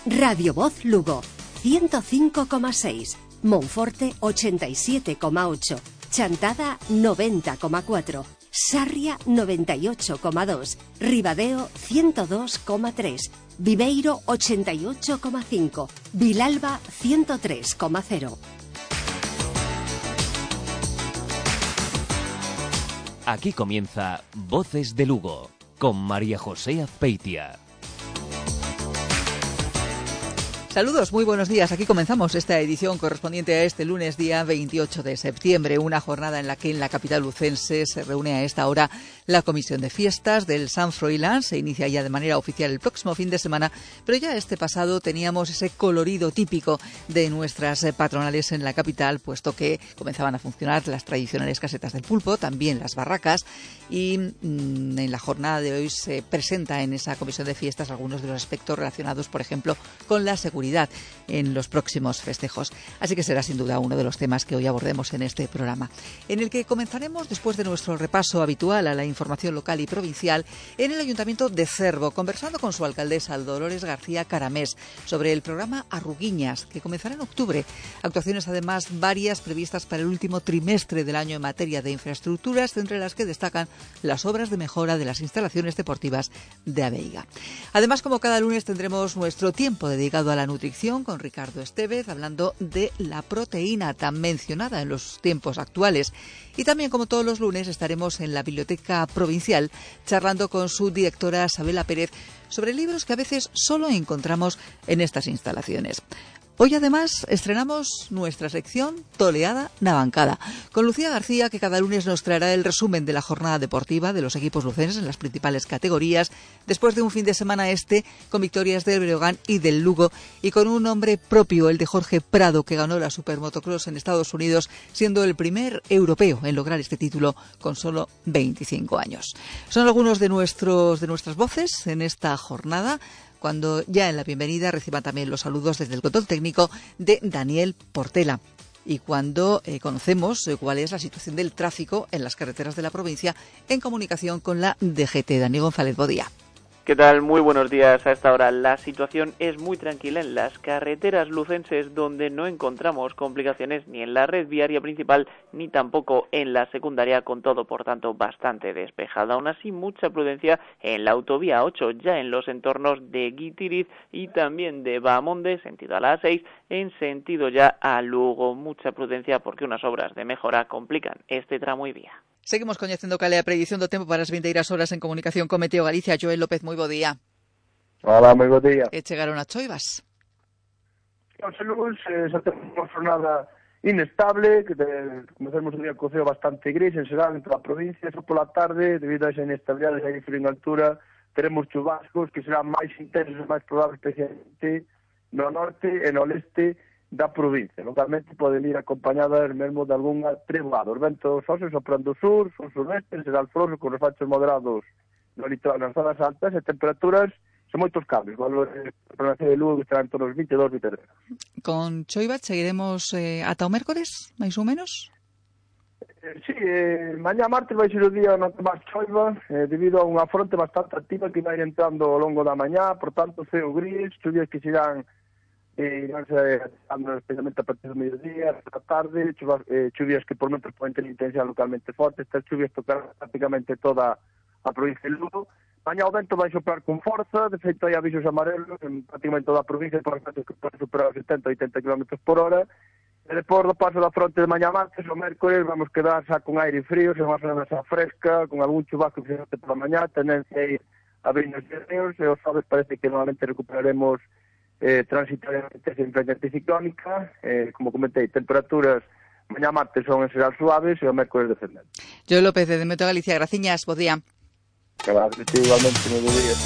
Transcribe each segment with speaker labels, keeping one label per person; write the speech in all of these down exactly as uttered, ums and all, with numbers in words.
Speaker 1: Radio Voz Lugo, ciento cinco coma seis. Monforte, ochenta y siete coma ocho. Chantada, noventa coma cuatro. Sarria, noventa y ocho coma dos. Ribadeo, ciento dos coma tres. Viveiro, ochenta y ocho coma cinco. Vilalba, ciento tres coma cero.
Speaker 2: Aquí comienza Voces de Lugo, con María José Azpeitia.
Speaker 3: Saludos, muy buenos días. Aquí comenzamos esta edición correspondiente a este lunes día veintiocho de septiembre, una jornada en la que en la capital lucense se reúne a esta hora la Comisión de Fiestas del Sant Froilán. Se inicia ya de manera oficial el próximo fin de semana, pero ya este pasado teníamos ese colorido típico de nuestras patronales en la capital, puesto que comenzaban a funcionar las tradicionales casetas del pulpo, también las barracas, y mmm, en la jornada de hoy se presenta en esa Comisión de Fiestas algunos de los aspectos relacionados, por ejemplo, con la seguridad en los próximos festejos. Así que será sin duda uno de los temas que hoy abordemos en este programa, en el que comenzaremos después de nuestro repaso habitual a la información local y provincial en el Ayuntamiento de Cervo, conversando con su alcaldesa Dolores García Caramés sobre el programa Arruguiñas, que comenzará en octubre. Actuaciones además varias previstas para el último trimestre del año en materia de infraestructuras, entre las que destacan las obras de mejora de las instalaciones deportivas de Aveiga. Además, como cada lunes, tendremos nuestro tiempo dedicado a la nutrición con Ricardo Estevez, hablando de la proteína tan mencionada en los tiempos actuales. Y también, como todos los lunes, estaremos en la Biblioteca Provincial charlando con su directora Sabela Pérez sobre libros que a veces solo encontramos en estas instalaciones. Hoy además estrenamos nuestra sección Toleada na Bancada, con Lucía García, que cada lunes nos traerá el resumen de la jornada deportiva de los equipos lucenses en las principales categorías, después de un fin de semana este con victorias del Breogán y del Lugo, y con un nombre propio, el de Jorge Prado, que ganó la Supermotocross en Estados Unidos, siendo el primer europeo en lograr este título con solo veinticinco años. Son algunos de nuestros de nuestras voces en esta jornada, cuando ya en la bienvenida reciban también los saludos desde el control técnico de Daniel Portela. Y cuando eh, conocemos eh, cuál es la situación del tráfico en las carreteras de la provincia en comunicación con la D G T. Daniel González, buen día.
Speaker 4: ¿Qué tal? Muy buenos días. A esta hora la situación es muy tranquila en las carreteras lucenses, donde no encontramos complicaciones ni en la red viaria principal ni tampoco en la secundaria, con todo por tanto bastante despejada. Aún así, mucha prudencia en la autovía ocho, ya en los entornos de Guitiriz y también de Bahamonde, sentido a la A seis, en sentido ya a Lugo. Mucha prudencia porque unas obras de mejora complican este tramo y vía.
Speaker 3: Seguimos coñecendo cal é a predición do tempo para as vindeiras horas en comunicación con Meteo Galicia. Joel López, moi bo día.
Speaker 5: Hola, moi bo día.
Speaker 3: E chegaron as choivas?
Speaker 5: Os lunes eh, xa temos unha jornada inestable, que comezamos o día co ceo bastante gris en xeral en toda a provincia. Só pola tarde, debido a esa inestabilidade e frío en altura, teremos chubascos que serán máis intensos e máis probables, especialmente no norte e no leste da provincia. Localmente poden ir acompañadas mesmo de algunha treboada. Os ventos óseos sopran do sur, son sureste, será alfroso, con refachos moderados no litoral, nas zonas altas, e temperaturas son moitos cambios. Valores de provincia de Lugo que estarán entre os vinte e dos, vinte e tres.
Speaker 3: Con choiva seguiremos eh, ata o mércores, máis ou menos?
Speaker 5: Eh, sí, eh, mañá martes vai ser o día non máis choiva, eh, debido a unha fronte bastante activa que vai entrando ao longo da mañá, por tanto, ceo gris, chuvias que serán e iránse ando especialmente a partir do mediodía, a tarde, chuvas, eh, chuvias que por momentos poden ter intensidade localmente forte. Estas chuvias tocarán prácticamente toda a provincia de Lugo. Mañá o vento vai soprar con forza, de feito hai avisos amarelos en prácticamente toda a provincia, por ventos que poden superar os setenta a oitenta kilómetros por hora. E depois do paso da fronte de mañá martes, o mércores, vamos quedar xa con aire frío, se vamos a unha fresca, con algún chubasco que se por a mañá, tendencia a ir a abrindo os dedos, e os sábados parece que normalmente recuperaremos Eh, transitoriamente sin frente anticiclónica, eh, como comentei, temperaturas mañá martes son en xeral suaves e o mércores descendente.
Speaker 3: Joel López, de Meteo Galicia, graciñas, bo día.
Speaker 5: Que va, que igualmente, moi bo día.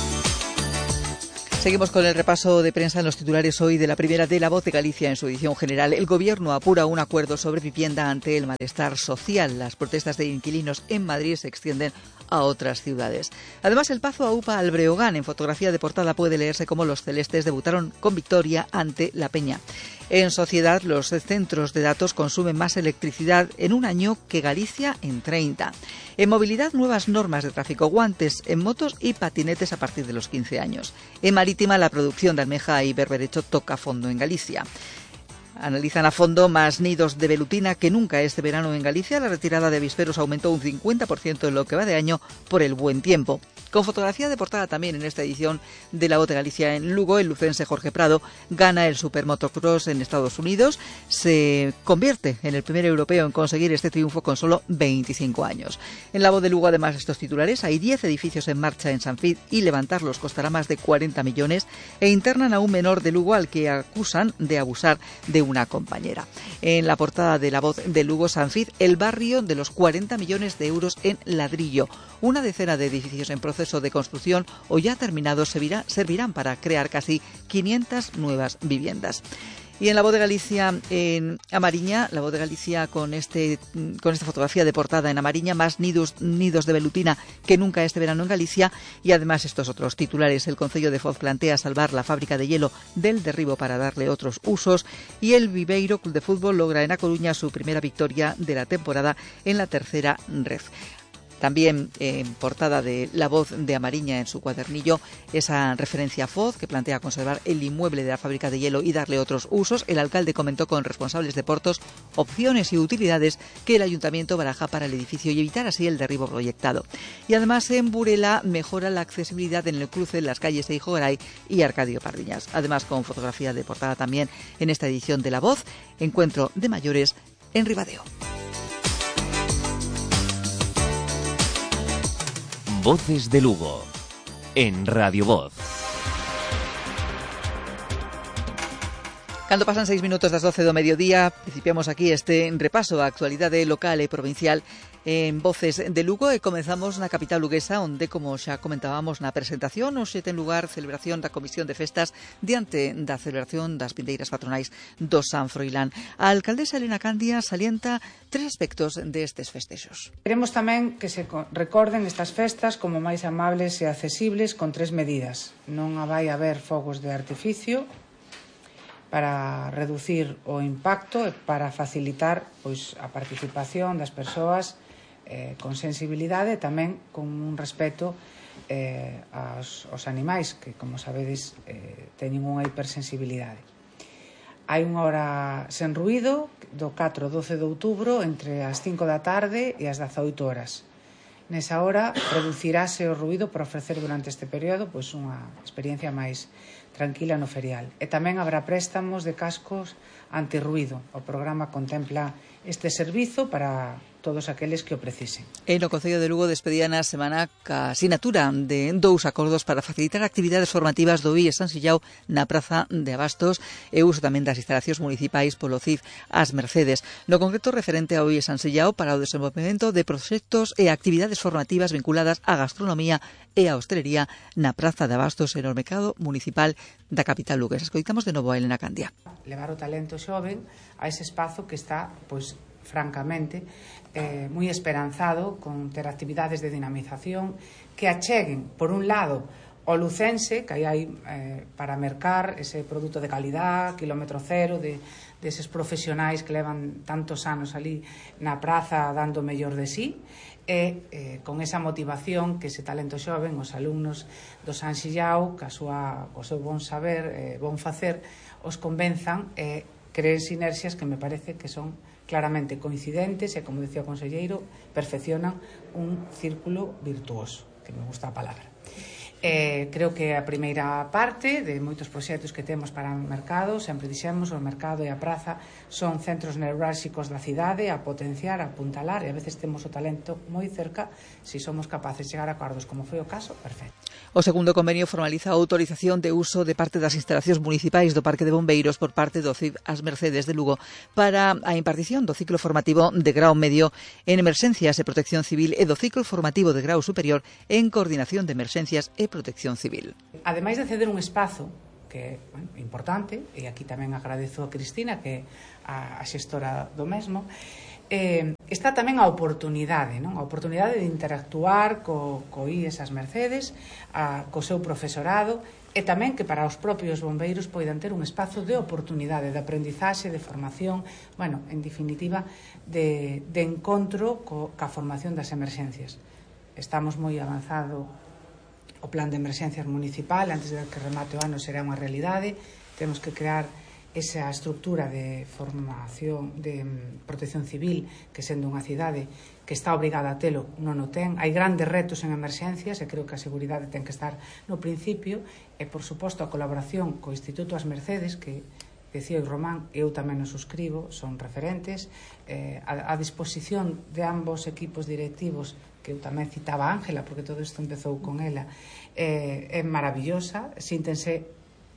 Speaker 3: Seguimos con el repaso de prensa en los titulares hoy de la primera de La Voz de Galicia en su edición general. El Gobierno apura un acuerdo sobre vivienda ante el malestar social. Las protestas de inquilinos en Madrid se extienden a otras ciudades. Además, el Pazo aupa al Breogán. En fotografía de portada puede leerse cómo los celestes debutaron con victoria ante la Peña. En sociedad, los centros de datos consumen más electricidad en un año que Galicia en treinta. En movilidad, nuevas normas de tráfico, guantes en motos y patinetes a partir de los quince años. En marítima, legitima la producción de almeja y berberecho toca fondo en Galicia. Analizan a fondo más nidos de velutina que nunca este verano en Galicia. La retirada de avisperos aumentó un cincuenta por ciento en lo que va de año por el buen tiempo. Con fotografía de portada también en esta edición de La Voz de Galicia en Lugo, el lucense Jorge Prado gana el Supermotocross en Estados Unidos. Se convierte en el primer europeo en conseguir este triunfo con solo veinticinco años. En La Voz de Lugo, además de estos titulares, hay diez edificios en marcha en Sanfid y levantarlos costará más de cuarenta millones e internan a un menor de Lugo al que acusan de abusar de una compañera. En la portada de La Voz de Lugo, Sanfid, el barrio de los cuarenta millones de euros en ladrillo. Una decena de edificios en proceso de construcción o ya terminados servirá, servirán para crear casi quinientas nuevas viviendas. Y en La Voz de Galicia, en Amariña, La Voz de Galicia con este con esta fotografía de portada en Amariña, más nidos, nidos de velutina que nunca este verano en Galicia, y además estos otros titulares. El Concello de Foz plantea salvar la fábrica de hielo del derribo para darle otros usos, y el Viveiro Club de Fútbol logra en A Coruña su primera victoria de la temporada en la tercera ref. También en eh, portada de La Voz de Amariña en su cuadernillo, esa referencia a Foz, que plantea conservar el inmueble de la fábrica de hielo y darle otros usos. El alcalde comentó con responsables de portos opciones y utilidades que el ayuntamiento baraja para el edificio y evitar así el derribo proyectado. Y además en Burela mejora la accesibilidad en el cruce de las calles Eijo Garay y Arcadio Pardiñas. Además, con fotografía de portada también en esta edición de La Voz, encuentro de mayores en Ribadeo.
Speaker 2: Voces de Lugo, en Radio Voz.
Speaker 3: Cando pasan seis minutos das doce do mediodía, principiamos aquí este repaso á actualidade local e provincial en Voces de Lugo, e comenzamos na capital luguesa, onde, como xa comentábamos na presentación, hoxe ten lugar celebración da Comisión de Festas diante da celebración das vindeiras patronais do San Froilán. A alcaldesa Elena Candia salienta tres aspectos destes festexos.
Speaker 6: Queremos tamén que se recorden estas festas como máis amables e accesibles con tres medidas. Non vai haber fogos de artificio para reducir o impacto e para facilitar pois, a participación das persoas eh, con sensibilidade e tamén con un respeto eh, aos, aos animais que, como sabedes, eh, teñen unha hipersensibilidade. Hai unha hora sen ruído do catro ao doce de outubro entre as cinco da tarde e as dezaoito horas. Nesa hora reducirase o ruído para ofrecer durante este período pois, unha experiencia máis tranquila no ferial. E tamén habrá préstamos de cascos antirruído. O programa contempla este servizo para todos aqueles que o precisen.
Speaker 3: E no Concello de Lugo despedían a semana ca sinatura de dous acordos para facilitar actividades formativas do I E San Sillao na Praza de Abastos e uso tamén das instalacións municipais polo C I F As Mercedes. No concreto referente ao I E San Sillao para o desenvolvemento de proxectos e actividades formativas vinculadas á gastronomía e á hostelería na Praza de Abastos e no mercado municipal da capital luguesa. Escoitamos de novo a Elena Candia.
Speaker 6: Levar o talento xoven a ese espazo que está, pois, francamente, eh, moi esperanzado con ter actividades de dinamización que acheguen, por un lado, o lucense, que aí hai eh, para mercar ese produto de calidad, kilómetro cero, de, deses profesionais que levan tantos anos ali na praza dando o mellor de sí, e eh, con esa motivación que ese talento xoven, os alumnos do San Sillao, que a súa, o seu bon saber, eh, bon facer, os convenzan e eh, creen sinerxias que me parece que son claramente coincidentes e, como decía o conselleiro, perfeccionan un círculo virtuoso, que me gusta a palabra. Eh, creo que a primeira parte de moitos proxectos que temos para o mercado, sempre dixemos, o mercado e a praza son centros neurálxicos da cidade a potenciar, a apuntalar, e a veces temos o talento moi cerca. Se somos capaces de chegar a acordos como foi o caso, perfecto.
Speaker 3: O segundo convenio formaliza a autorización de uso de parte das instalacións municipais do Parque de Bombeiros por parte do C I F As Mercedes de Lugo para a impartición do ciclo formativo de grau medio en emerxencias e protección civil e do ciclo formativo de grau superior en coordinación de emerxencias e protección civil.
Speaker 6: Ademais de ceder un espazo que é bueno, importante, e aquí tamén agradezo a Cristina, que é a, a xestora do mesmo, eh, está tamén a oportunidade, non? A oportunidade de interactuar co, co I E S As Mercedes, a, co seu profesorado, e tamén que para os propios bombeiros poidan ter un espazo de oportunidade, de aprendizaxe, de formación, bueno, en definitiva, de, de encontro co, ca formación das emerxencias. Estamos moi avanzado o plan de emerxencias municipal, antes de que remate o ano será unha realidade. Temos que crear esa estructura de formación de protección civil que, sendo unha cidade que está obrigada a telo, non o ten. Hai grandes retos en emerxencias e creo que a seguridade ten que estar no principio, e por suposto a colaboración co Instituto As Mercedes, que decía o Román, eu tamén o suscribo, son referentes, eh, a, a disposición de ambos equipos directivos, que eu tamén citaba a Ángela, porque todo isto empezou con ela, eh, é maravillosa, síntense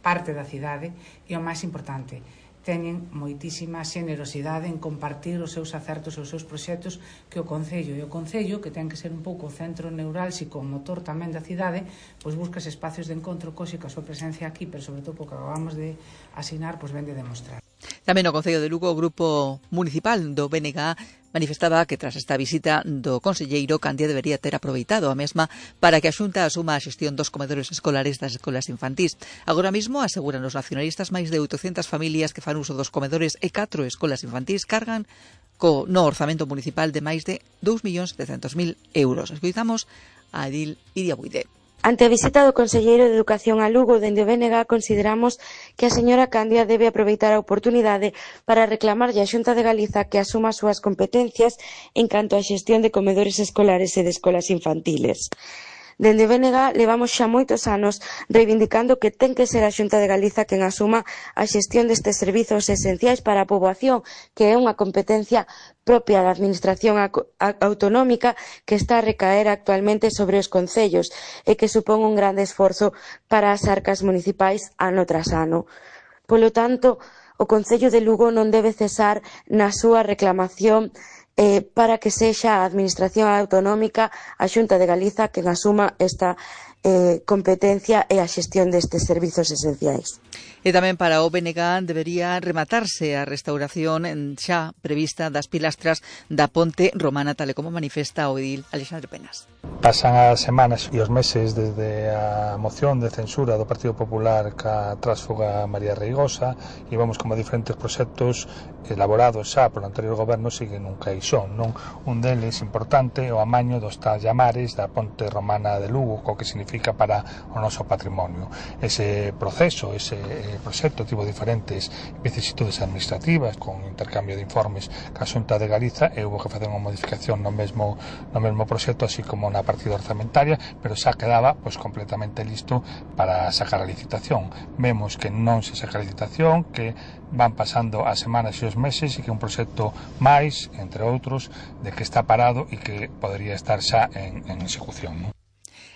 Speaker 6: parte da cidade, e o máis importante, teñen moitísima xenerosidade en compartir os seus acertos e os seus proxectos que o Concello, e o Concello, que ten que ser un pouco o centro neurálxico, o motor tamén da cidade, pois busca espacios de encontro, coxe que a súa presencia aquí, pero sobre todo porque acabamos de asinar, pois vende demostrar.
Speaker 3: Tamén no Concello de Lugo, o Grupo Municipal do B N G A manifestaba que tras esta visita do conselleiro, Candía debería ter aproveitado a mesma para que a Xunta asuma a xestión dos comedores escolares das escolas infantís. Agora mesmo, aseguran os nacionalistas, máis de oitocentas familias que fan uso dos comedores e catro escolas infantís cargan co no orzamento municipal de máis de dous millóns setecientos mil euros. Escoitamos a Edil Iria Buide.
Speaker 7: Ante a visita do conselleiro de Educación a Lugo, dende o B N G consideramos que a señora Candia debe aproveitar a oportunidade para reclamarlle á Xunta de Galiza que asuma as súas competencias en canto á xestión de comedores escolares e de escolas infantiles. Dende o B N G levamos xa moitos anos reivindicando que ten que ser a Xunta de Galiza quen asuma a xestión destes servizos esenciais para a poboación, que é unha competencia propia da Administración autonómica que está a recaer actualmente sobre os concellos e que supón un grande esforzo para as arcas municipais ano tras ano. Polo tanto, o Concello de Lugo non debe cesar na súa reclamación Eh, para que sexa a Administración autonómica, a Xunta de Galiza, quen asuma esta eh, competencia e a xestión destes servizos esenciais.
Speaker 3: E tamén para o B N G debería rematarse a restauración xa prevista das pilastras da Ponte Romana, tal e como manifesta o edil Alexandre Penas.
Speaker 8: Pasan as semanas e os meses desde a moción de censura do Partido Popular ca trásfuga María Reigosa e vemos como diferentes proxectos elaborados xa polo anterior goberno siguen un caixón, non? Un deles importante o amaño dos tallamares da Ponte Romana de Lugo, co que significa para o noso patrimonio. Ese proceso, ese proxecto tivo diferentes vicisitudes administrativas con intercambio de informes ca Xunta de Galiza e houve que facer unha modificación no mesmo, no mesmo proxecto, así como na partida orzamentaria, pero xa quedaba pois completamente listo para sacar a licitación. Vemos que non se saca a licitación, que van pasando as semanas e os meses e que un proxecto máis, entre outros, de que está parado e que podería estar xa en, en execución, non?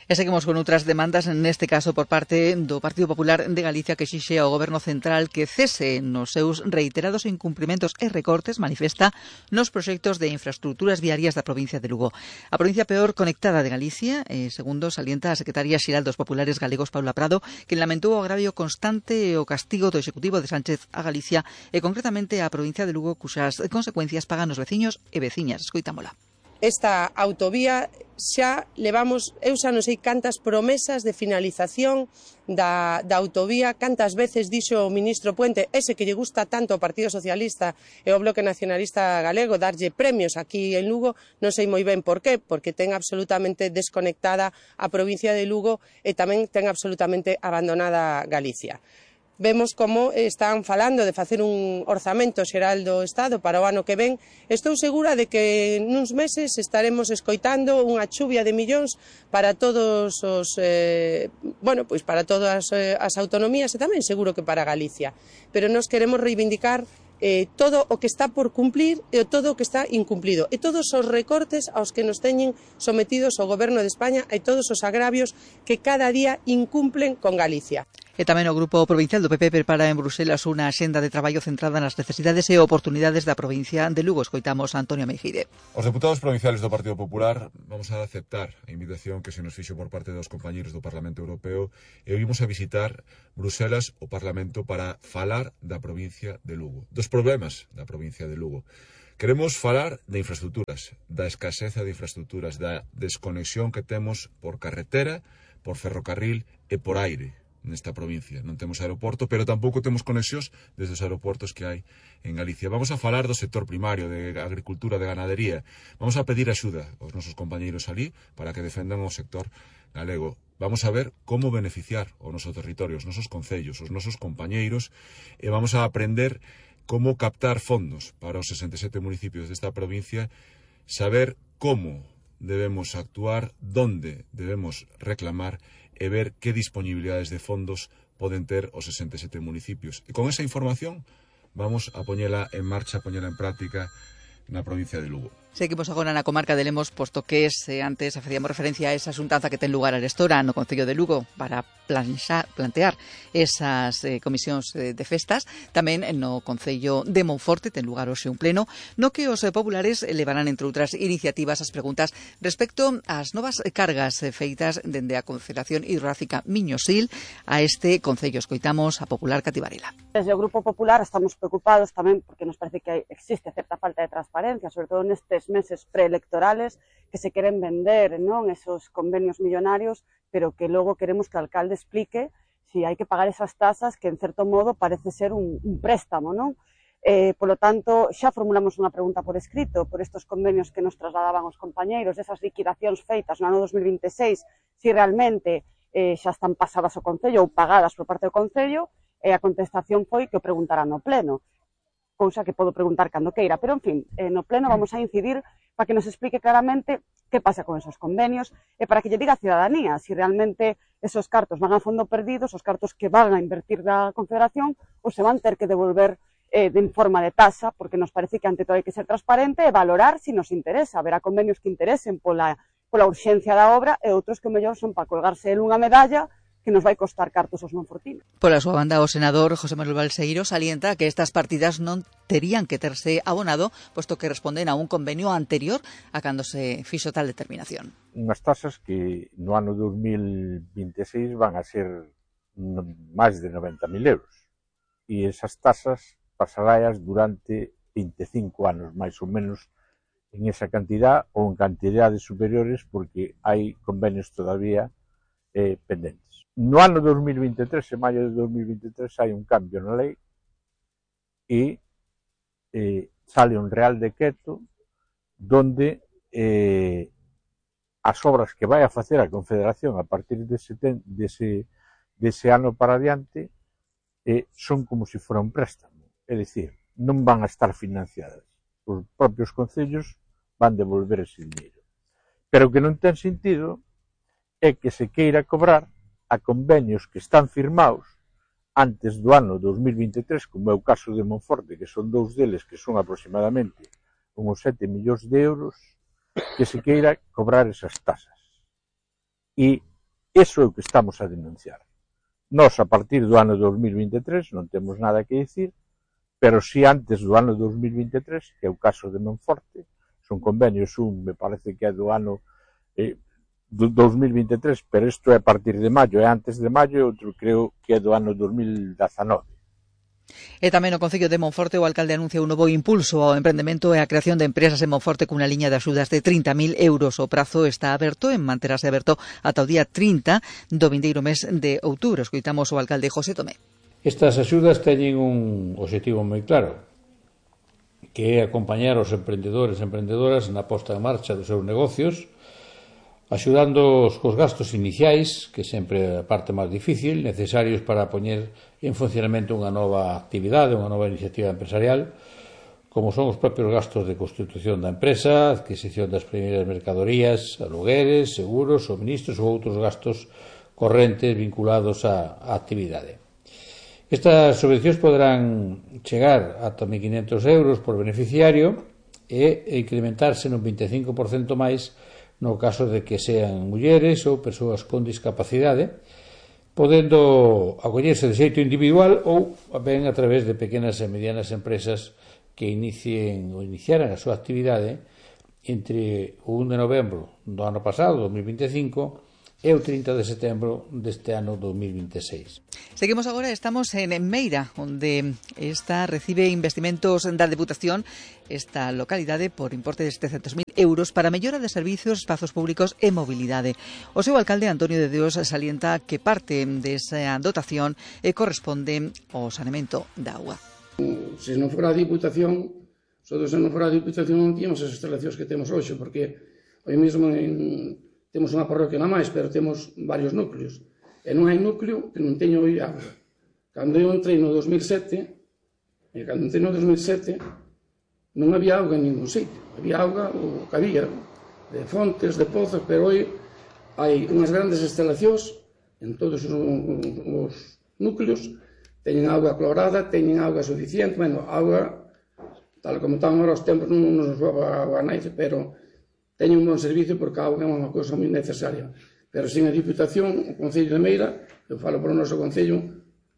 Speaker 3: E seguimos con outras demandas, neste caso por parte do Partido Popular de Galicia, que exixe ao Goberno Central que cese nos seus reiterados incumprimentos e recortes, manifesta, nos proxectos de infraestructuras viarias da provincia de Lugo. A provincia peor conectada de Galicia, eh, segundo salienta a secretaria xeral dos Populares Galegos, Paula Prado, que lamentou o agravio constante e o castigo do Executivo de Sánchez a Galicia e concretamente a provincia de Lugo, cuxas consecuencias pagan os veciños e veciñas. Escoitámola.
Speaker 9: Esta autovía xa levamos, eu xa non sei cantas promesas de finalización da, da autovía, cantas veces dixo o ministro Puente, ese que lle gusta tanto ao Partido Socialista e ao Bloque Nacionalista Galego, darlle premios aquí en Lugo, non sei moi ben por qué, porque ten absolutamente desconectada a provincia de Lugo e tamén ten absolutamente abandonada Galicia. Vemos como están falando de facer un orzamento xeral do Estado para o ano que ven. Estou segura de que nuns meses estaremos escoitando unha chuvia de millóns para todos os eh, bueno, pois para todas as autonomías e tamén seguro que para Galicia. Pero nós queremos reivindicar eh, todo o que está por cumplir e todo o que está incumplido e todos os recortes aos que nos teñen sometidos o Goberno de España e todos os agravios que cada día incumplen con Galicia.
Speaker 3: E tamén o Grupo Provincial do P P prepara en Bruselas unha axenda de traballo centrada nas necesidades e oportunidades da provincia de Lugo. Escoitamos a Antonio Meijide.
Speaker 10: Os deputados provinciales do Partido Popular vamos a aceptar a invitación que se nos fixo por parte dos compañeiros do Parlamento Europeo e vimos a visitar Bruselas, o Parlamento, para falar da provincia de Lugo, dos problemas da provincia de Lugo. Queremos falar de infraestructuras, da escaseza de infraestructuras, da desconexión que temos por carretera, por ferrocarril e por aire nesta provincia. Non temos aeroporto, pero tampouco temos conexións desde os aeroportos que hai en Galicia. Vamos a falar do sector primario, de agricultura, de ganadería. Vamos a pedir axuda aos nosos compañeiros alí para que defendan o sector galego. vamos a ver como beneficiar o noso territorio, os nosos concellos, os nosos compañeiros, e vamos a aprender como captar fondos para os sesenta e sete municipios desta provincia, saber como debemos actuar, donde debemos reclamar e ver que disponibilidades de fondos poden ter os sesenta e sete municipios. E con esa información vamos a poñela en marcha, a poñela en práctica na provincia de Lugo.
Speaker 3: Seguimos agora na comarca de Lemos, posto que ese, antes facíamos referencia a esa xuntanza que ten lugar a Arestora no Concello de Lugo para planxar, plantear esas eh, comisións eh, de festas. Tamén no Concello de Monforte ten lugar hoxe un pleno no que os eh, populares levarán, entre outras iniciativas, as preguntas respecto ás novas cargas eh, feitas dende a Confederación Hidrográfica Miñosil a este Concello. Escoitamos a popular Cati Varela.
Speaker 11: Desde o Grupo Popular estamos preocupados tamén porque nos parece que existe certa falta de transparencia, sobre todo nestes meses preelectorales, que se queren vender, non, esos convenios millonarios, pero que logo queremos que o alcalde explique si hai que pagar esas tasas que en certo modo parece ser un, un préstamo, non? Eh, polo tanto, xa formulamos unha pregunta por escrito por estos convenios que nos trasladaban os compañeiros, esas liquidacións feitas no ano dos mil vinte e seis, si realmente eh, xa están pasadas ao Concello ou pagadas por parte do Concello, e a contestación foi que o preguntarán no pleno, cousa que podo preguntar cando queira, pero en fin, eh, no pleno vamos a incidir para que nos explique claramente que pasa con esos convenios e para que lle diga a ciudadanía si realmente esos cartos van a fondo perdidos, os cartos que van a invertir da Confederación, ou se van ter que devolver eh, de forma de tasa, porque nos parece que ante todo hai que ser transparente e valorar si nos interesa. Haberá convenios que interesen pola, pola urxencia da obra e outros que mellor son para colgarse en unha medalla que nos vai costar cartos aos monfortinos.
Speaker 3: Pola súa banda, o senador José Manuel Balseiro salienta que estas partidas non terían que terse abonado, posto que responden a un convenio anterior a cando se fixo tal determinación.
Speaker 12: Unhas tasas que no ano dos mil vinte e seis van a ser máis de noventa mil euros. E esas tasas pasarás durante vinte e cinco anos, máis ou menos, en esa cantidad ou en cantidades superiores, porque hai convenios todavía eh, pendentes. No ano dos mil vinte e tres, en maio de dos mil vinte e tres, hai un cambio na lei e eh, sale un real decreto donde eh, as obras que vai a facer a Confederación a partir dese, dese, dese ano para adiante eh, son como se fora un préstamo, é dicir, non van a estar financiadas. Os propios concellos van devolver ese dinheiro. Pero o que non ten sentido é que se queira cobrar a convenios que están firmados antes do ano dos mil vinte e tres, como é o caso de Monforte, que son dous deles que son aproximadamente uns sete millóns de euros, que se queira cobrar esas tasas. E iso é o que estamos a denunciar. Nós, a partir do ano dos mil vinte e tres, non temos nada que dicir, pero si antes do ano dos mil vinte e tres, que é o caso de Monforte, son convenios, un me parece que é do ano eh, do dos mil vinte e tres, pero isto é a partir de maio, é antes de maio, e outro creo que é do ano dos mil dezanove.
Speaker 3: E tamén no Concello de Monforte o alcalde anuncia un novo impulso ao emprendemento e a creación de empresas en Monforte cunha liña de axudas de trinta mil euros. O prazo está aberto e manterase aberto ata o día trinta do vindeiro mes de outubro. Escoitamos o alcalde José Tomé.
Speaker 13: Estas axudas teñen un objetivo moi claro, que é acompañar os emprendedores e emprendedoras na posta en marcha dos seus negocios, axudándoos cos gastos iniciais, que sempre é a parte máis difícil, necesarios para poñer en funcionamento unha nova actividade, unha nova iniciativa empresarial, como son os propios gastos de constitución da empresa, adquisición das primeiras mercadorías, alugueres, seguros, suministros ou outros gastos correntes vinculados á actividade. Estas subvencións poderán chegar ata mil quinhentos euros por beneficiario e incrementarse nun vinte e cinco por cento máis no caso de que sean mulleres ou persoas con discapacidade, podendo acollerse de xeito individual ou ben a través de pequenas e medianas empresas que inicien ou iniciaran a súa actividade entre o primeiro de novembro do ano pasado, dos mil vinte e cinco, e o trinta de setembro deste ano dos mil vinte e seis.
Speaker 3: Seguimos agora, estamos en Meira, onde esta recibe investimentos da Deputación, esta localidade, por importe de setecentos mil euros para mellora de servizos, espazos públicos e mobilidade. O seu alcalde, Antonio de Dios, salienta que parte desa dotación corresponde ao saneamento da auga.
Speaker 14: Se non fora a Diputación, se non fora a Diputación non tíamos as instalacións que temos hoxe, porque hoy mesmo en temos unha parroquia na máis, pero temos varios núcleos. E non hai núcleo que non teña hoy auga. Cando eu entrei no dos mil sete, e cando entrei no dos mil sete, non había auga en ningún sitio. Había auga, o que había, de fontes, de pozos, pero hoy hai unhas grandes instalacións en todos os, os núcleos, teñen auga clorada, teñen auga suficiente, bueno, auga, tal como están agora os tempos, non nos va a naide, pero teñen un bon servicio porque a auga é unha cousa moi necesaria. Pero sin a Diputación, o Concello de Meira, eu falo por o noso Concello,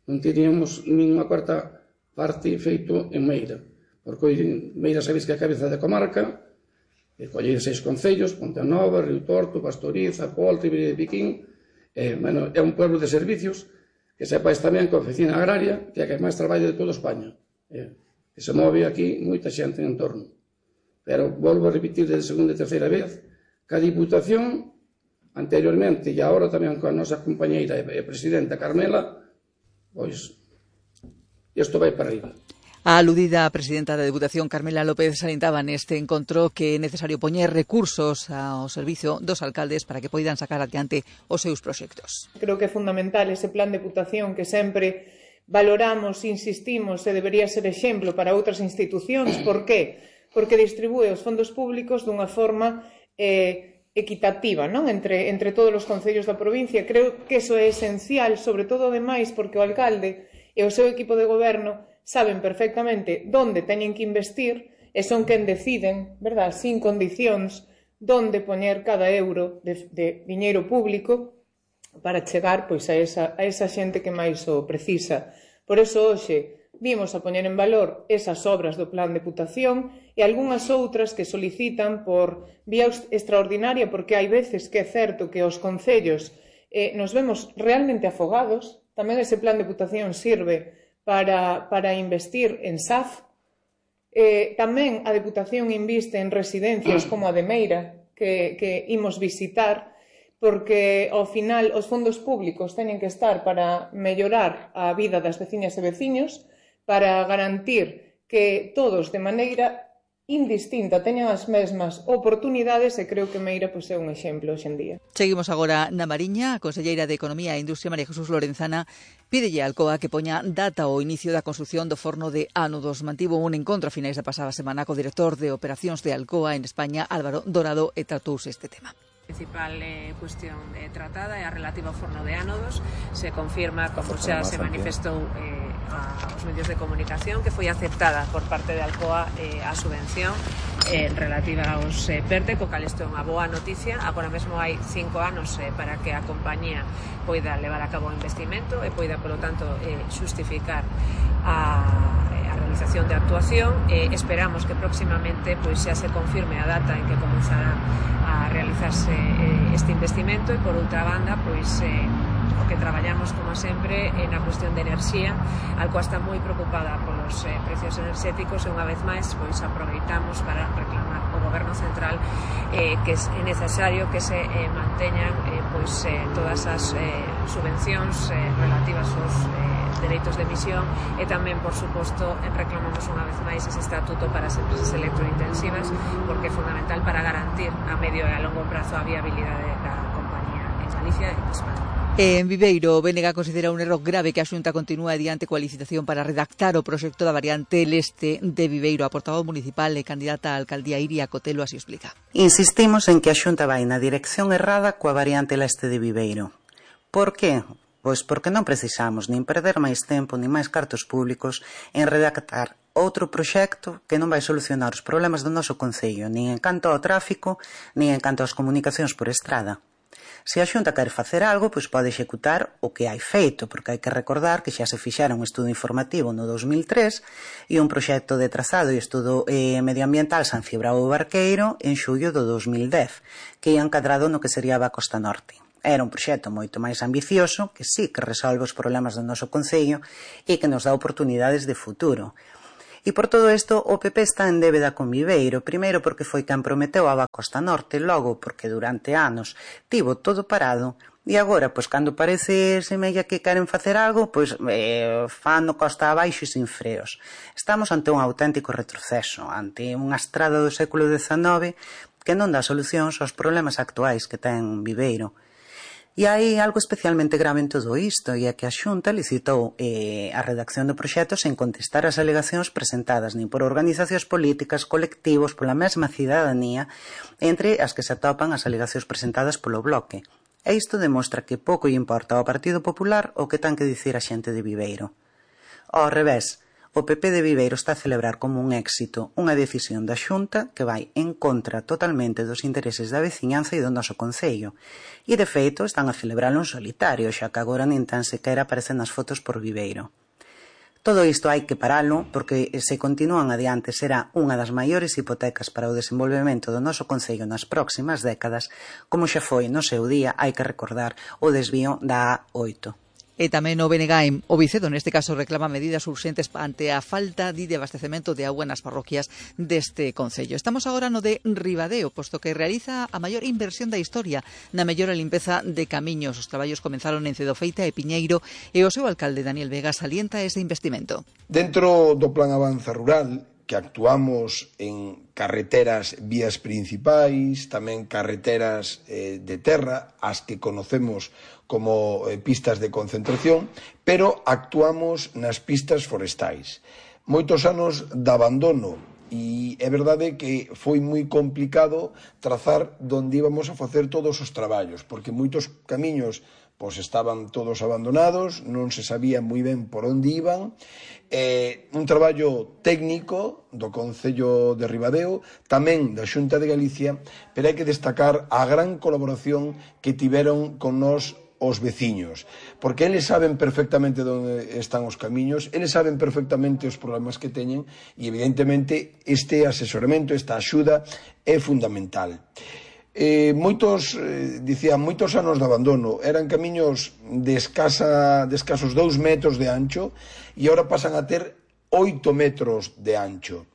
Speaker 14: non teríamos ninguna cuarta parte feito en Meira. Porque hoy Meira sabéis que é a cabeza da comarca, e colle seis concellos, Pontenova, Río Torto, Pastoriza, Polta, Iberia de Piquín, e, bueno, é un pueblo de servicios, que sepáis tamén que a oficina agraria, que é a que máis traballa de toda España, e, que se move aquí moita xente en entorno. Pero volvo a repetir de segunda e terceira vez que a Diputación, anteriormente e agora tamén coa nosa compañeira e presidenta Carmela, pois, isto vai para arriba.
Speaker 3: A aludida presidenta da Deputación, Carmela López, salientaba neste encontro que é necesario poñer recursos ao servicio dos alcaldes para que poidan sacar adiante os seus proxectos.
Speaker 15: Creo que é fundamental ese plan de Deputación que sempre valoramos, insistimos, e debería ser exemplo para outras institucións. Por que? Porque distribúe os fondos públicos dunha forma eh, equitativa, non? Entre, entre todos os concellos da provincia. Creo que iso é esencial, sobre todo, ademais, porque o alcalde e o seu equipo de goberno saben perfectamente onde teñen que investir e son quen deciden, verdad, sin condicións, onde poñer cada euro de, de diñeiro público para chegar pois, a, esa, a esa xente que máis o precisa. Por eso, hoxe, vimos a poñer en valor esas obras do Plan de Deputación e algunhas outras que solicitan por vía extraordinaria, porque hai veces que é certo que os concellos eh, nos vemos realmente afogados. Tamén ese Plan de Deputación sirve para, para investir en S A F. Eh, tamén a Deputación inviste en residencias como a de Meira, que, que imos visitar, porque ao final os fondos públicos teñen que estar para mellorar a vida das veciñas e veciños, para garantir que todos de maneira indistinta teñan as mesmas oportunidades, e creo que Meira pois, é un exemplo hoxe en día.
Speaker 3: Seguimos agora na Mariña. A conselleira de Economía e Industria, María Jesús Lorenzana, pídelle a Alcoa que poña data ao inicio da construción do forno de ánodos. Mantivo un encontro a finais da pasada semana co director de operacións de Alcoa en España, Álvaro Dorado, e tratouse este tema.
Speaker 16: A principal eh, cuestión eh, tratada é a relativa ao forno de ánodos. Se confirma, como xa se manifestou eh, aos medios de comunicación, que foi aceptada por parte de Alcoa eh, a subvención eh, relativa aos eh, PERTE, co cal isto é unha boa noticia. Agora mesmo hai cinco anos eh, para que a compañía poida levar a cabo o investimento e poida, polo tanto, eh, xustificar a, a realización de actuación. Eh, esperamos que próximamente pois, xa se confirme a data en que comenzará a realizarse eh, este investimento, e por outra banda, pois eh, o que traballamos como sempre é na cuestión de enerxía. Alcoa está moi preocupada polos eh, precios enerxéticos e unha vez máis pois aproveitamos para reclamar ao goberno central eh, que é necesario que se eh, manteñan eh, pois eh, todas as eh, subvencións eh, relativas aos eh, dereitos de emisión, e tamén, por suposto, reclamamos unha vez máis ese estatuto para as empresas electrointensivas, porque é fundamental para garantir a medio e a longo prazo a viabilidade da compañía en Galicia e en España.
Speaker 3: En Viveiro, o B N G considera un erro grave que a Xunta continúe adiante coa licitación para redactar o proxecto da variante leste de Viveiro. A portavoz municipal e candidata á alcaldía Iria Cotelo así explica.
Speaker 17: Insistimos en que a Xunta vai na dirección errada coa variante leste de Viveiro. Por que? Pois porque non precisamos nin perder máis tempo nin máis cartos públicos en redactar outro proxecto que non vai solucionar os problemas do noso concello, nin en canto ao tráfico, nin en canto ás comunicacións por estrada. Se a Xunta quere facer algo, pois pode executar o que hai feito, porque hai que recordar que xa se fixera un estudo informativo no dos mil tres e un proxecto de trazado e estudo eh, medioambiental San Cibrao Barqueiro en xullo do dos mil dez, que ia encadrado no que sería a Costa Norte. Era un proxecto moito máis ambicioso, que sí que resolve os problemas do noso concello e que nos dá oportunidades de futuro. E por todo isto, o P P está en débeda con Viveiro, primeiro porque foi quen prometeu a Costa Norte, logo porque durante anos tivo todo parado, e agora, pois, cando parece semella que queren facer algo, pois, eh, fano costa abaixo e sin freos. Estamos ante un auténtico retroceso, ante unha estrada do século dezanove que non dá solucións aos problemas actuais que ten Viveiro. E hai algo especialmente grave en todo isto, e é que a Xunta licitou eh, a redacción do proxecto sen contestar as alegacións presentadas nin por organizacións políticas, colectivos, pola mesma cidadanía, entre as que se atopan as alegacións presentadas polo Bloque. E isto demostra que pouco lle importa ao Partido Popular o que ten que dicir a xente de Viveiro. Ao revés, o P P de Viveiro está a celebrar como un éxito unha decisión da Xunta que vai en contra totalmente dos intereses da veciñanza e do noso concello. E, de feito, están a celebralo en solitario, xa que agora nin tan sequera aparecen nas fotos por Viveiro. Todo isto hai que paralo, porque se continúan adiante será unha das maiores hipotecas para o desenvolvemento do noso concello nas próximas décadas, como xa foi no seu día, hai que recordar, o desvío da A oito.
Speaker 3: E tamén o B N G, o Vicedo, neste caso, reclama medidas urxentes ante a falta de abastecemento de auga nas parroquias deste concello. Estamos agora no de Ribadeo, posto que realiza a maior inversión da historia na mellora e limpeza de camiños. Os traballos comenzaron en Cedofeita e Piñeiro e o seu alcalde, Daniel Vega, salienta ese investimento.
Speaker 18: Dentro do Plan Avanza Rural, que actuamos en carreteras vías principais, tamén carreteras eh, de terra, as que conocemos como eh, pistas de concentración, pero actuamos nas pistas forestais. Moitos anos de abandono, e é verdade que foi moi complicado trazar onde íbamos a facer todos os traballos, porque moitos camiños pois estaban todos abandonados, non se sabía moi ben por onde iban. Eh, un traballo técnico do Concello de Ribadeo, tamén da Xunta de Galicia, pero hai que destacar a gran colaboración que tiveron con nós os veciños, porque eles saben perfectamente onde están os camiños, eles saben perfectamente os problemas que teñen, e evidentemente este asesoramento, esta axuda é fundamental. Eh, moitos, eh, dicía, moitos anos de abandono, eran camiños de, escasa, de escasos dous metros de ancho e agora pasan a ter oito metros de ancho.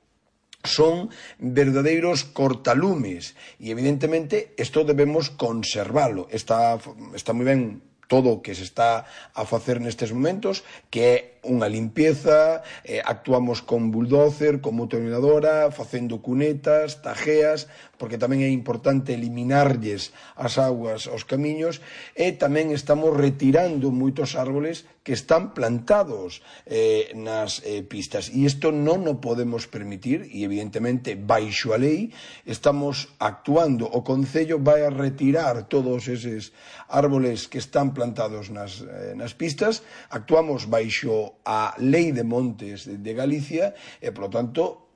Speaker 18: Son verdadeiros cortalumes e evidentemente isto debemos conservalo. Está, está moi ben todo o que se está a facer nestes momentos, que é unha limpieza, eh, actuamos con bulldozer, con motorinadora, facendo cunetas, tajeas, porque tamén é importante eliminarlles as augas aos camiños, e tamén estamos retirando moitos árboles que están plantados eh, nas eh, pistas. E isto non o podemos permitir, e evidentemente, baixo a lei, estamos actuando. O Concello vai a retirar todos eses árboles que están plantados nas, eh, nas pistas, actuamos baixo a Lei de Montes de Galicia e, polo tanto,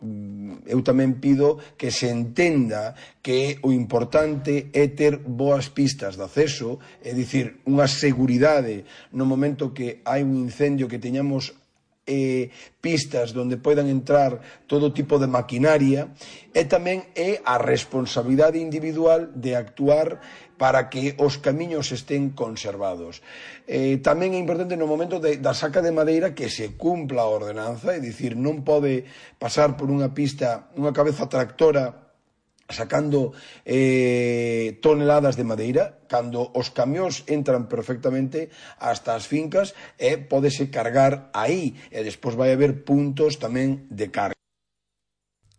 Speaker 18: eu tamén pido que se entenda que o importante é ter boas pistas de acceso, é dicir, unha seguridade no momento que hai un incendio, que teñamos eh, pistas onde poidan entrar todo tipo de maquinaria, e tamén é a responsabilidade individual de actuar para que os camiños estén conservados. Eh, tamén é importante no momento de, da saca de madeira que se cumpla a ordenanza, é dicir, non pode pasar por unha pista unha cabeza tractora sacando eh, toneladas de madeira, cando os camións entran perfectamente hasta as fincas e pódese cargar aí, e despois vai haber puntos tamén de carga.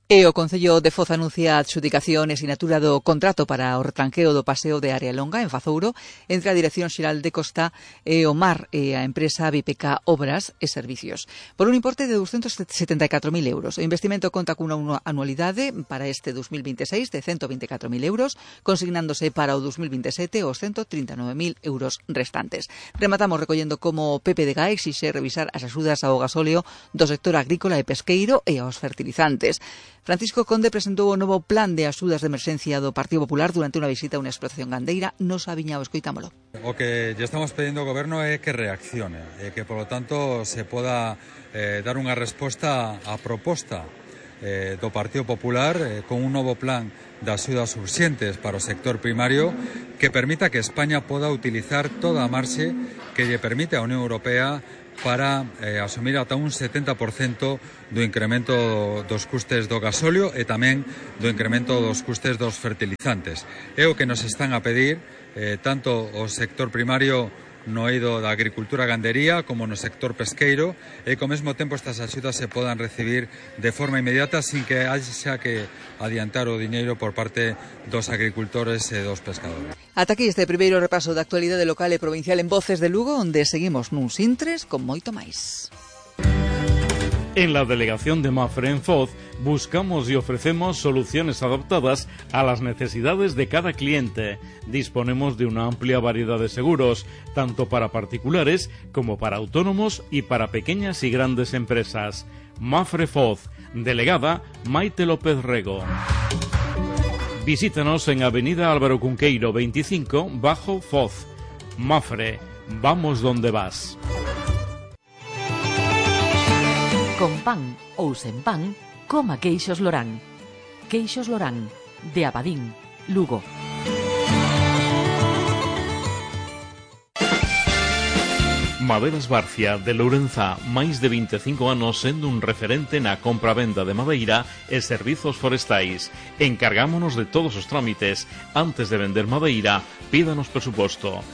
Speaker 3: E o Concello de Foz anuncia a adxudicación e sinatura do contrato para o retranqueo do paseo de Área Longa en Fazouro entre a Dirección Xeral de Costa e o Mar e a empresa B P K Obras e Servicios por un importe de ducentos setenta e catro mil euros. O investimento conta cunha anualidade para este dos mil veintiséis de cento vinte e catro mil euros, consignándose para o dos mil veintisiete os cento trinta e nove mil euros restantes. Rematamos recollendo como o P P D G exixe revisar as axudas ao gasóleo do sector agrícola e pesqueiro e aos fertilizantes. Francisco Conde presentou o novo plan de axudas de emerxencia do Partido Popular durante unha visita a unha explotación gandeira no Sabiñao. Escoitámolo.
Speaker 19: O que lle estamos pedindo ao Goberno é que reaccione e que, polo tanto, se poda eh, dar unha resposta á proposta eh, do Partido Popular eh, con un novo plan de axudas urxentes para o sector primario que permita que España poda utilizar toda a marxe que lle permite a Unión Europea para eh, asumir ata un setenta por cento do incremento dos custes do gasóleo e tamén do incremento dos custes dos fertilizantes. É o que nos están a pedir eh, tanto o sector primario no eido da agricultura e gandería como no sector pesqueiro e que ao mesmo tempo estas axudas se podan recibir de forma inmediata sin que haxa que adiantar o diñeiro por parte dos agricultores e dos pescadores.
Speaker 3: Ata aquí este primeiro repaso da actualidade local e provincial en Voces de Lugo, onde seguimos nuns intres con moito máis.
Speaker 20: En la delegación de Mafre en Foz buscamos y ofrecemos soluciones adaptadas a las necesidades de cada cliente. Disponemos de una amplia variedad de seguros, tanto para particulares como para autónomos y para pequeñas y grandes empresas. Mafre Foz, delegada Maite López Rego. Visítanos en Avenida Álvaro Cunqueiro veinticinco, Bajo Foz. Mafre, vamos donde vas.
Speaker 21: Con pan ou sen pan, coma queixos Lorán. Queixos Lorán, de Abadín, Lugo.
Speaker 20: Maderas Barcia, de Lourenzá, máis de veinticinco anos sendo un referente na compra-venda de madeira e servizos forestais. Encargámonos de todos os trámites. Antes de vender madeira, pídanos presuposto.